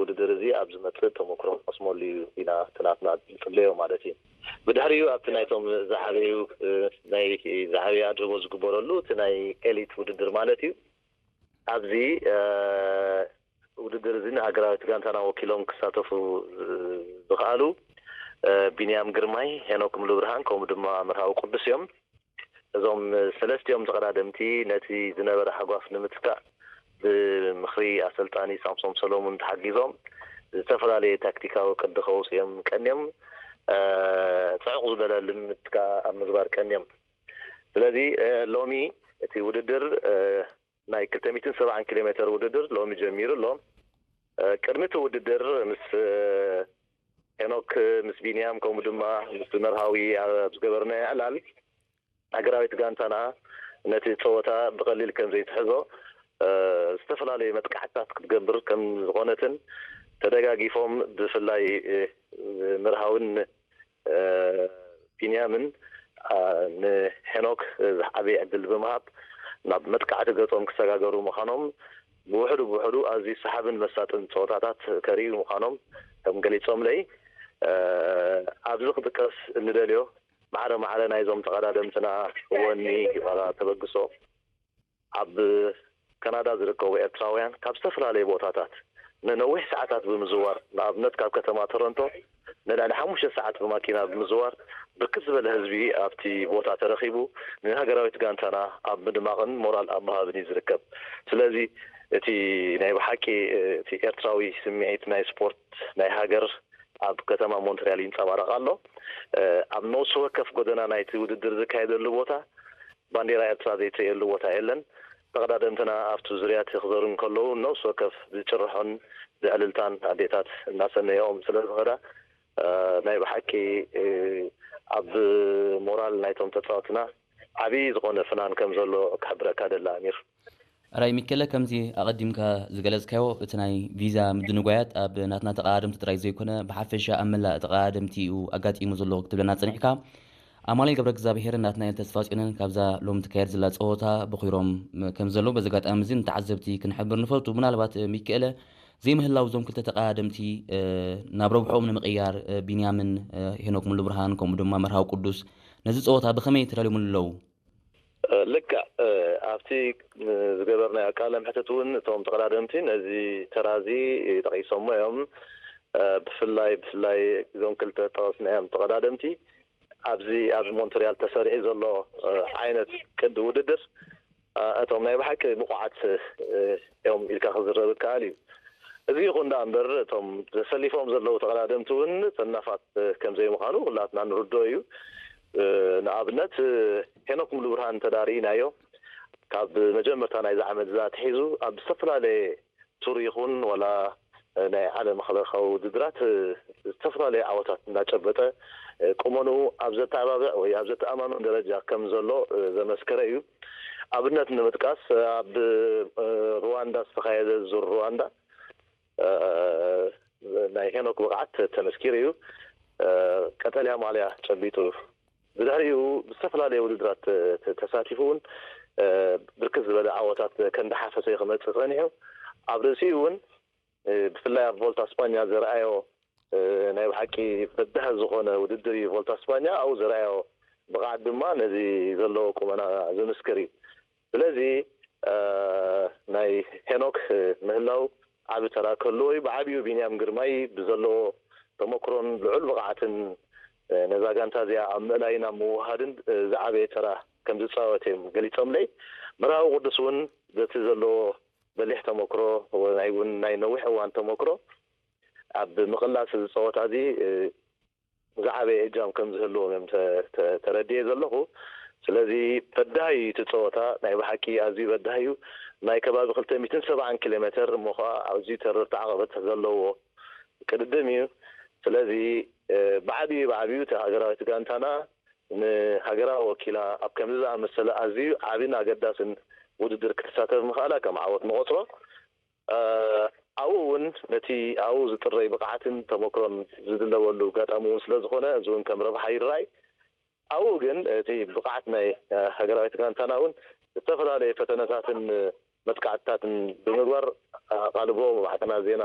ውድድር እዚ ኣብ ዝመጽእ ተመክሮ ክቐስመሉ እዩ ኢና እቲ ናትና ዝጽበዮ ማለት እዩ። ብድሕሪኡ ኣብቲ ናይቶም ዝዓበዩ፣ እ፣ ናይ ዝዓበየ ኣድህቦ ዝግበረሉ እቲ ናይ ኤሊት ውድድር ማለት እዩ። ኣብዚ፣ እ፣ ውድድር እዚ ንሃገራዊት ጋንታና ወኪሎም ክሳተፉ፣ እ፣ ዝኸኣሉ፣ እ፣ ቢንያም ግርማይ፣ ሄኖክ ሙሉብርሃን ከምኡ ድማ መርሃዊ ቅዱስ እዮም። እዞም ሰለስቲኦም ተቐዳደምቲ ነቲ ዝነበረ ሃጓፍ ንምትካእ ብምኽሪ ኣሰልጣኒ ሳምሶም ሰሎሙን ተሓጊዞም ዝተፈላለየ ታክቲካዊ ቅዲ ከውፅኦም ቀንዮም፣ እ፣ ጽዑቕ ዝበለ ልምምድ ከኣ ኣብ ምግባር ቀንዮም። ስለዚ፣ እ፣ ሎሚ እቲ ውድድር፣ እ፣ ናይ ክልተ ሚእትን ሰብዓን ኪሎ ሜትር ውድድር ሎሚ ጀሚሩ ኣሎ። እ፣ ቅድሚ እቲ ውድድር ምስ፣ እ፣ ሄኖክ፣ ምስ ቢንያም ከምኡ ድማ ምስ መርሃዊ ኣብ ዝገበርናዮ ዕላል ሃገራዊት ጋንታና ነቲ ጸወታ ብቐሊል ከም ዘይትሕዞ፣ እ፣ ዝተፈላለዩ መጥቃዕትታት ክትገብር ከም ዝኾነትን ተደጋጊፎም ብፍላይ፣ እ፣ መርሃውን፣ እ፣ ቢንያምን፣ እ፣ ንሄኖክ ዝዓበየ ዕድል ብምሃብ ናብ መጥቃዕቲ ገጾም ክሰጋገሩ ምዃኖም ብውሕዱ ብውሕዱ ኣዝዩ ሰሓብን መሳጥን ጸወታታት ከርእዩ ምዃኖም ከም ገሊጾምለይ፣ እ፣ ኣብዚ ክጥቀስ እንደልዮ ማዕረ ማዕረ ናይዞም ተቐዳደምትና ወኒ ዋላ ተበግሶ ኣብ ካናዳ ዝርከቡ ኤርትራውያን ካብ ዝተፈላለዩ ቦታታት ንነዊሕ ሰዓታት ብምዝዋር፣ ንኣብነት ካብ ከተማ ቶሮንቶ ንልዕሊ ሓሙሽተ ሰዓት ብማኪና ብምዝዋር ብርክት ዝበለ ህዝቢ ኣብቲ ቦታ ተረኺቡ ንሃገራዊት ጋንታና ኣብ ምድማቕን ሞራል ኣብ ምሃብን እዩ ዝርከብ። ስለዚ እቲ ናይ ብሓቂ እቲ ኤርትራዊ ስምዒት ናይ ስፖርት ናይ ሃገር ኣብ ከተማ ሞንትሪያል ይንጸባረቕ ኣሎ። እ፣ ኣብ ነፍሲ ወከፍ ጎደና ናይቲ ውድድር ዝካየደሉ ቦታ ባንዴራ ኤርትራ ዘይትርእየሉ ቦታ የለን። ተቐዳደምትና ኣብቲ ዙርያ እቲ ክዘሩ እንከለዉ ነፍሲ ወከፍ ብጭርሖን ብዕልልታን ኣዴታት እናሰነየኦም ስለ ዝኸዳ፣ እ፣ ናይ ብሓቂ፣ እ፣ ኣብ ሞራል ናይቶም ተጻወትና ዓብዪ ዝኾነ ፍናን ከም ዘሎ ክሕብረካ ደሊ ኣሚር። ኣራይ ሚኬለ፣ ከምዚ ኣቐዲምካ ዝገለጽካዮ፣ እቲ ናይ ቪዛ ምድንጓያት ኣብ ናትና ተቐዳደምቲ ጥራይ ዘይኮነ፣ ብሓፈሻ ኣብ መላእ ተቐዳደምቲ እዩ ኣጋጢሙ ዘሎ ክትብለና ጸኒሕካ። ኣማኑኤል ገብረ እግዚኣብሄርን ናትናኤል ተስፋጽዮንን ካብዛ ሎም ትካየድ ዘላ ጸወታ በኺሮም ከም ዘለዉ በዚ ኣጋጣሚ እዚ ንተዓዘብቲ ክንሕብር ንፈቱ። ምናልባት ሚኪኤለ፣ ዘይምህላው እዞም ክልተ ተቐዳደምቲ፣ እ፣ ናብ ረብሕኦም ንምቕያር፣ እ፣ ቢንያምን፣ እ፣ ሄኖክ ሙሉብርሃን ከምኡ ድማ መርሃዊ ቅዱስ ነዚ ጸወታ ብኸመይ ተዳልዮምሉ ኣለዉ? እ፣ ልክዕ፣ እ፣ ኣብቲ፣ እ፣ ዝገበርናዮ ቃለ መሕትት እውን እቶም ተቐዳደምቲ ነዚ ተራ እዚ ጠቒሶሞ እዮም። እ፣ ብፍላይ፣ ብፍላይ እዞም ክልተ ጠቐስናዮም ተቐዳደምቲ ኣብዚ ኣብ ሞንትሪያል ተሰሪዑ ዘሎ፣ እ፣ ዓይነት ቅዲ ውድድር፣ እ፣ እቶም ናይ ብሓቂ ብቑዓት፣ እ፣ እዮም ኢልካ ክዝረብ ይከኣል እዩ። እዚ ይኹን ደኣ እምበር እቶም ተሰሊፎም ዘለዉ ተቐዳደምቲ እውን ሰናፋት፣ እ፣ ከም ዘይምዃኑ ኩላትና ንርድኦ እዩ። እ፣ ንኣብነት፣ እ፣ ሄኖክ ሙሉብርሃን እንተ ደኣ ርኢናዮ ካብ መጀመርታ ናይዚ ዓመት እዚ ኣትሒዙ ኣብ ዝተፈላለየ ቱር ይኹን ዋላ ናይ ዓለም ለኻዊ ውድድራት፣ እ፣ ዝተፈላለዩ ዓወታት እናጨበጠ፣ እ፣ ቁመንኡ ኣብ ዘተባብዕ ወይ ኣብ ዘተኣማምን ደረጃ ከም ዘሎ፣ እ፣ ዘመስከረ እዩ። ኣብነት ንምጥቃስ፣ እ፣ ኣብ፣ እ፣ ሩዋንዳ ዝተኻየደ ዙር ሩዋንዳ፣ እ፣ ናይ ሄኖክ ብቕዓት ተመስኪሩ እዩ። እ፣ ቀጠልያ ማልያ ጨቢጡ ብድሕሪኡ ብዝተፈላለየ ውድድራት ተ-፣ ተ-፣ ተሳቲፉ እውን፣ እ፣ ብርክት ዝበለ ዓወታት ከንዳሓፈሰ እዩ ክመጽእ ጸኒሑ። ኣብ ርእሲኡ እውን፣ እ፣ ብፍላይ ኣብ ቮልታ ስጳኛ ዘርኣዮ፣ እ፣ ናይ ብሓቂ በዳሂ ዝኾነ ውድድር እዩ ቮልታ ስጳኛ። ኣብኡ ዘርኣዮ ብቕዓት ድማ ነዚ ዘለዎ ቁመና ዝምስክር እዩ። ስለዚ፣ እ፣ ናይ ሄኖክ፣ እ፣ ምህላው ዓቢ ተራ ክህልዎ እዩ። ብዓቢኡ ቢንያም ግርማይ ብዘለዎ ተመክሮን ልዑል ብቕዓትን፣ እ፣ ነዛ ጋንታ እዚኣ ኣብ ምእላይን ኣብ ምውሃድን፣ እ፣ ዝዓበየ ተራ ከም ዝጻወት እዮም ገሊጾምለይ። መርሃዊ ቅዱስ እውን በቲ ዘለዎ በሊሕ ተመክሮ፣ ናይ እውን ናይ ነዊሕ እዋን ተመክሮ ኣብ ምቕላስ እዚ ጸወታ እዚ፣ እ፣ ዝዓበየ እጃም ከም ዝህልዎም እዮም ተ-፣ ተ-፣ ተረዲኤ ዘለኹ። ስለዚ በዳሂ እዩ እቲ ጸወታ፣ ናይ ብሓቂ ኣዝዩ በዳሂ እዩ። ናይ ከባቢ ክልተ ሚእትን ሰብዓን ኪሎ ሜተር እሞ ኸኣ ኣዝዩ ተረርቲ ዓቐበት ዘለዎ ቅድድም እዩ። ስለዚ፣ እ፣ ብዓቢኡ፣ ብዓቢኡ እቲ ሃገራዊት ጋንታና ንሃገራ ወኪላ ኣብ ከምዚ ዝኣመሰለ ኣዝዩ ዓቢን ኣገዳስን ውድድር ክትሳተፍ ምኽኣላ ከም ዓወት ንቖጽሮ። እ፣ ኣብኡ እውን ነቲ ኣብኡ ዝጥረይ ብቕዓትን ተመክሮን ዝድለበሉ ኣጋጣሚ እውን ስለ ዝኾነ፣ እዚ እውን ከም ረብሓ ይረኣይ። ኣብኡ ግን እቲ ብቕዓት ናይ፣ እ፣ ሃገራዊት ጋንታና እውን ዝተፈላለየ ፈተነታትን መጥቃዕትታትን ብምግባር፣ ኣቓልቦ ማዕከናት ዜና